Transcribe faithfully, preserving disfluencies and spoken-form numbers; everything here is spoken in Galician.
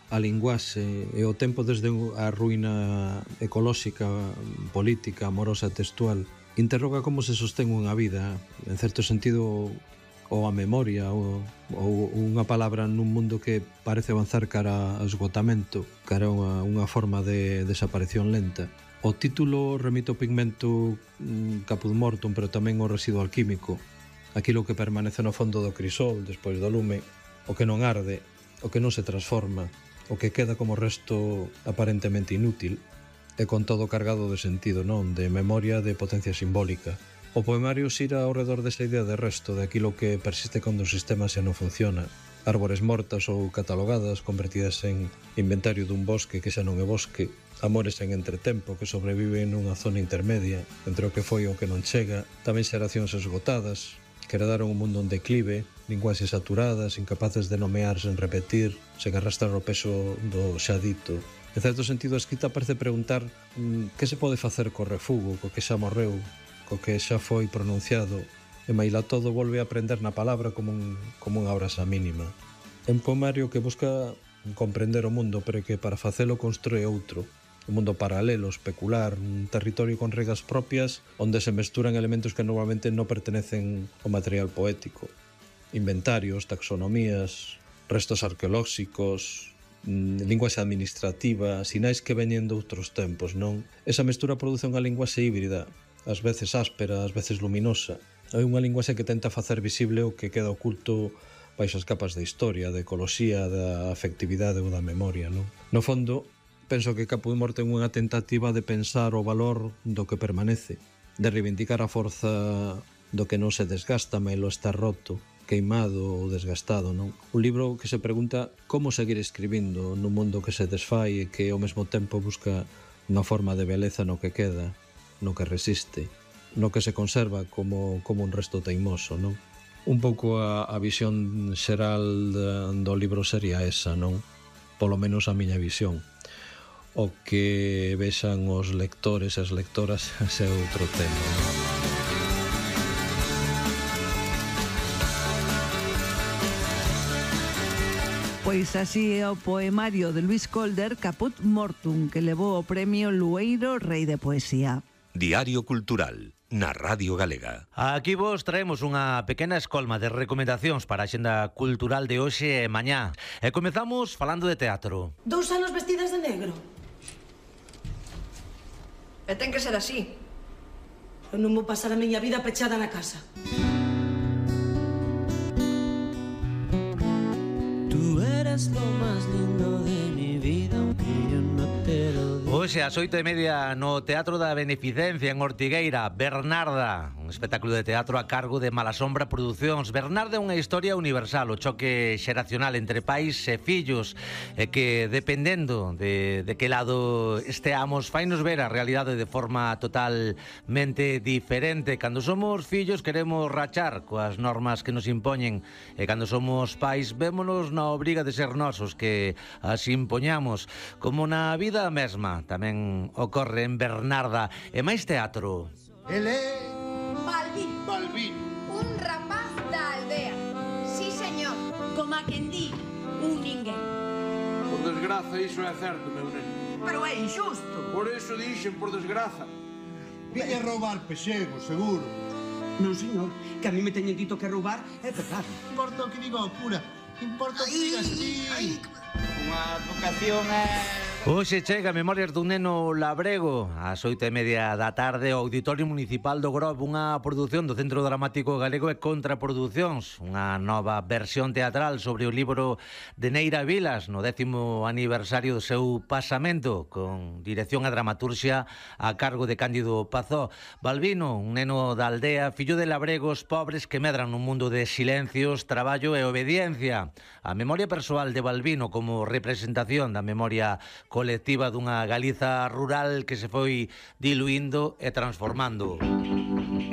a linguaxe e o tempo desde a ruína ecolóxica, política, amorosa, textual, interroga como se sostén unha vida, en certo sentido, ou a memoria, ou, ou unha palabra nun mundo que parece avanzar cara ao esgotamento, cara a unha, unha forma de desaparición lenta. O título remite ao pigmento mm, caput mortum, pero tamén ao residuo alquímico, aquilo que permanece no fondo do crisol despois do lume, o que non arde, o que non se transforma, o que queda como resto aparentemente inútil, e con todo cargado de sentido, non? De memoria, de potencia simbólica. O poemario xira ao redor desa idea de resto, de aquilo que persiste cando o sistema xa non funciona. Árbores mortas ou catalogadas, convertidas en inventario dun bosque que xa non é bosque, amores en entretempo que sobreviven nunha zona intermedia entre o que foi e o que non chega, tamén xeracións esgotadas, que heredaron un mundo en declive, linguaxes saturadas, incapaces de nomear sen repetir, sen arrastrar o peso do xa dito. En certo sentido, a escrita parece preguntar mmm, que se pode facer co refugo, co que xa morreu, co que xa foi pronunciado, e maila todo volve a aprender na palabra como, un, como unha obrasa mínima. É un poemario que busca comprender o mundo, pero que para facelo construe outro, un mundo paralelo, especular, un territorio con regras propias onde se mesturan elementos que normalmente non pertenecen ao material poético. Inventarios, taxonomías, restos arqueolóxicos, linguaxe administrativa, sinais que veñen de outros tempos, non? Esa mestura produce unha linguaxe híbrida, ás veces áspera, ás veces luminosa. É unha linguaxe que tenta facer visible o que queda oculto baixo as capas da historia, da ecoloxía, da afectividade ou da memoria, non? No fondo, penso que Caput Mortum é unha tentativa de pensar o valor do que permanece, de reivindicar a forza do que non se desgasta, mailo está roto, queimado ou desgastado, non? Un libro que se pregunta como seguir escribindo nun mundo que se desfai e que ao mesmo tempo busca unha forma de beleza no que queda, no que resiste, no que se conserva como, como un resto teimoso, non? Un pouco a, a visión xeral do libro sería esa, non? Polo menos a miña visión. O que vexan os lectores e as lectoras ese é outro tema. Pois así é o poemario de Luís Colder, Caput Mortum, que levou o premio Lueiro Rei de Poesía. Diario Cultural, na Radio Galega. Aquí vos traemos unha pequena escolma de recomendacións para a xenda cultural de hoxe e mañá. E comezamos falando de teatro. Dous anos vestidas de negro. E ten que ser así. Eu non vou pasar a miña vida pechada na casa. Tú eres lo más lindo de mi vida, aunque yo no te lo diga. Hoxe ás oito e media no Teatro da Beneficencia en Ortigueira, Bernarda, un espectáculo de teatro a cargo de Malasombra Producións. Bernarda é unha historia universal, o choque xeracional entre pais e fillos, e que dependendo de, de que lado esteamos, fainos ver a realidade de forma totalmente diferente. Cando somos fillos queremos rachar coas normas que nos impoñen, e cando somos pais vémonos na obriga de ser nosos que as impoñamos. Como na vida mesma, tamén ocorre en Bernarda. E máis teatro. Ele Balbín. Balbín. Un rapaz da aldea. Sí, señor. Como a quen di, un ninguén. Por desgraza, iso é certo, meu neno. Pero é injusto. Por iso dixen, por desgraza. Viña roubar pexego, seguro. Non, señor, que a mí me teñen dito que roubar é pecado. Importa o que diga o cura. Importa o que digas ti. Unha vocación é... Hoxe chega Memorias dun neno labrego ás oito e media da tarde ao Auditorio Municipal do Grob, unha produción do Centro Dramático Galego e Contraproducións, unha nova versión teatral sobre o libro de Neira Vilas no décimo aniversario do seu pasamento, con dirección a dramaturxia a cargo de Cándido Pazó. Balbino, un neno da aldea, fillo de labregos pobres que medran nun mundo de silencios, traballo e obediencia. A memoria persoal de Balbino como representación da memoria colectiva dunha Galiza rural que se foi diluindo e transformando.